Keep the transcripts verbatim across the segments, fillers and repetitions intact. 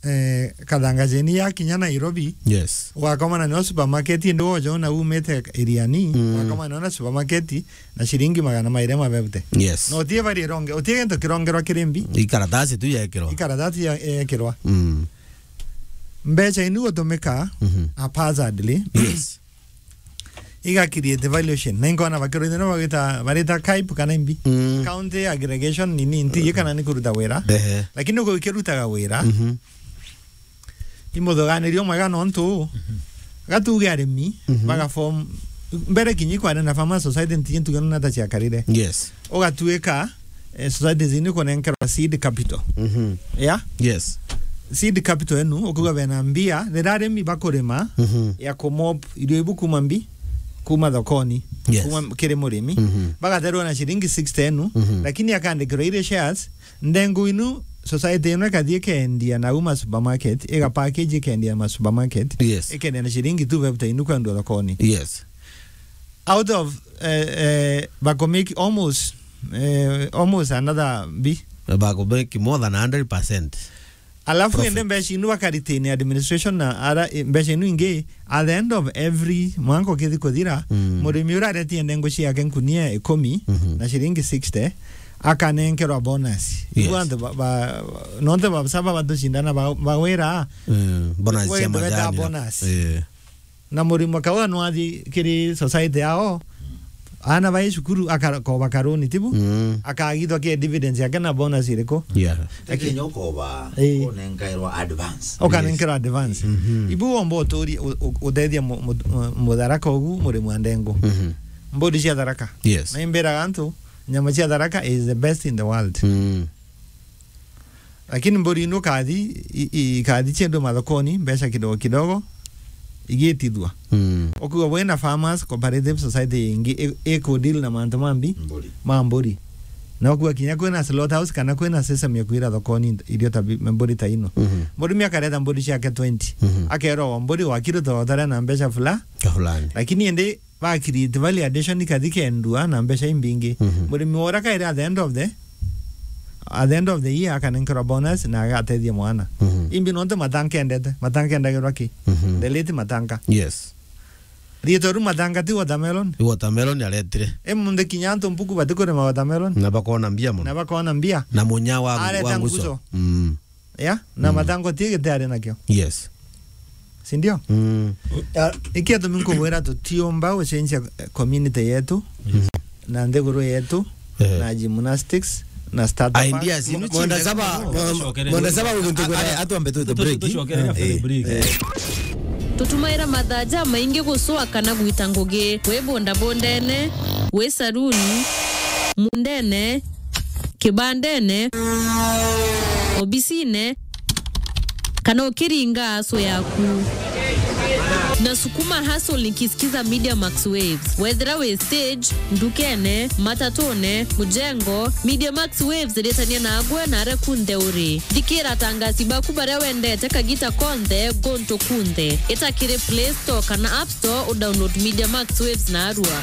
eh, Kathangajeni ya kinya Nairobi, yes, ugakomana nio supermarket, indi woja una umite Iriani, mm, ugakomana nio na supermarket na ciringi magana mairi ma fifty. Yes. Na utie bari ironge, utie gintu kirongerwa kiri mbi. Ikaratasi tu yekirwa. Ikaratasi ya, yekirwa. Mm. Mbeca inu gutumika, mhm, haphazardly. Yes. Iga create valuation. Na inkona bakirwa ithino bagita, barita KAIP kana imbi. Mm. County aggregation nini, nti, kana ni kuruta wira. Ehe. Lakini uko ikirutaga wira. Mhm. Imuthuganirio mwega nontu, mhm, gatuge arimi, mhm, baga form, mbere kinyi kwarenda Farmers Society nti ntuge na ta ciakarire. Yes. Ugatuika, eh, societies ini kunenkerwa seed capital. Mhm. Yeah? Yes. Seed capital enu, ukuga bena mbia, rira arimi bakurima, mhm, ya kumop irio ibu kuma mbi, kuma thokoni, yes, kuma kiri murimi, mhm, bagaterwa na ciringi sixty enu, mhm, lakini akandikirwa iri shares, ndengu inu, society ino ikathii ikendia na uma supermarket, iga package ikendia ma supermarket, yes, ikendia na ciringi two fifty inu kwendwa thokoni. Yes. Out of, eh, eh, bako make almost, eh, almost another bi. Bako make more than a hundred percent. Alafu profit. Ende mbeca inu bakaritain administration na ara, eh, mbeca inu ingi, at the end of every mwanka ukithi kuthira, mm, murimi uria aretie ndengu ciake nkunia ikumi, mhm, na ciringi sixty, akanenkerwa bonus. Yes. Ibu antu ba, ba, nonte ba saba batucindana ba, bawira, mm, bonus cia majani. Bonus. Eh. Na murimi akauga no athi kiri society yao, ana bai cukuru akakoba karuni, tibu? Mm. Akagithwa ke dividends yake na bonus iriku? Yeah. Lakini ukoba, eh, unenkairwa advance. Ukanenkerwa advance. Mhm. Ibu womba uturi, u-, u-, uthethia mu-, mu-, mu-, mutharaka ugu murimi wa ndengu. Mhm. Mburi cia Tharaka. Yes. Na imbiraga antu, nyama cia Tharaka is the best in the world. Mm. Lakini mburi ino kathi, i-, i-, ikathi ciendwe mathokoni, mbeca kidogo kidogo, igitithua. Mm. Ukuga bwina Farmers Cooperative Society ingi i-, iku deal na mantu mambi, mburi, ma mburi. Na ukuga kinya kwina slaughterhouse kana kwina system ya kwira thokoni irio ta bi-, mburi ta ino. Mhm. Murimi akareta mburi ciake twenty. Mhm. Akerwa mburi wakirutwa utare na mbeca fula-, fulani. Lakini indi ba create value addition ikathi kendua na mbeca imbingi. Mhm. Murimi wora kairi at the end of the, at the end of the year akanenkerwa bonus na agatethia mwana. Mhm. Imbi nontu Matanga endete, Matanga endagirwa ki? Mhm. The late Matanga. Yes. Rietwa ru Matanga ti watermelon? Ni watermelon aretire. E munthi kinya antu mpuku batikurima watermelon. Na bakona mbia mono. Na bakona mbia. Na munya wa, areta wa nguco. Nguco. Mm. Ya? Na, mm, Matanga ti gite ari nakio. Yes. Si ndio? Mm. Ah, iki atumi nkubwira tutiumba gucenjia, eh, community yetu, mm, na nthiguru yetu, eh, na gymnastics, na startup. Ideas, inu mwenda saba, mwenda saba uguntu kwira atu ambe twite break. Tucokere kabere break. Eh. Tutumaira mathaa jamaingi gucua kana gwita ngugi, wi bundabundene, wi saruni, mundene, kibandene, obisine, kana ukiringa aso yaku. Na sukuma hustle nikisikiza Media Max Waves. Wethira wi stage, ndukene, matatune, mujengo, Media Max Waves iritania nagwe na aria kunthe uri. Thikira atangasi baku baria wendete kagita konthe, guntu kunthe. Ita kiri Play Store kana App Store, u download Media Max Waves narua.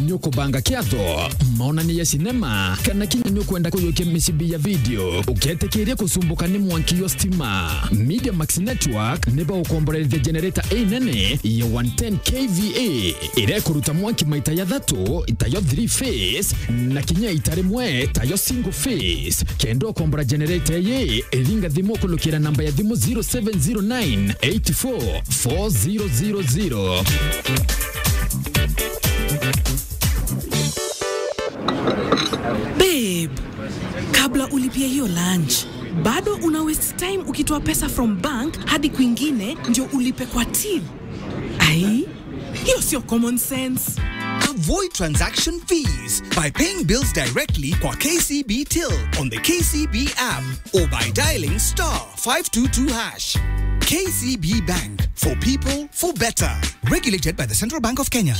Nukubanga kiatho, maonania ya sinema, kana kinya nukwenda kuyukia micibi ya video, uketikiria kucumbuka ni mwanki yo stima. Media Max Network ni baukomborerithia generator inene ya one ten K V A, iria ikuruta mwanki maita ya thatu, tayo three phase, na kinya ita rimwe, tayo single phase. Kenda ukombora generator ii, iringa thimu kulukira namba ya thimu zero seven zero nine eight four four zero zero zero. Babe, kabla ulipie hiyo lunch, bado una waste time ukitoa pesa from bank hadi kwingine ndio ulipe kwa till. Ai, hiyo sio common sense. Avoid transaction fees by paying bills directly kwa K C B Till on the K C B app or by dialing star five two two hash. K C B Bank, for people, for better. Regulated by the Central Bank of Kenya.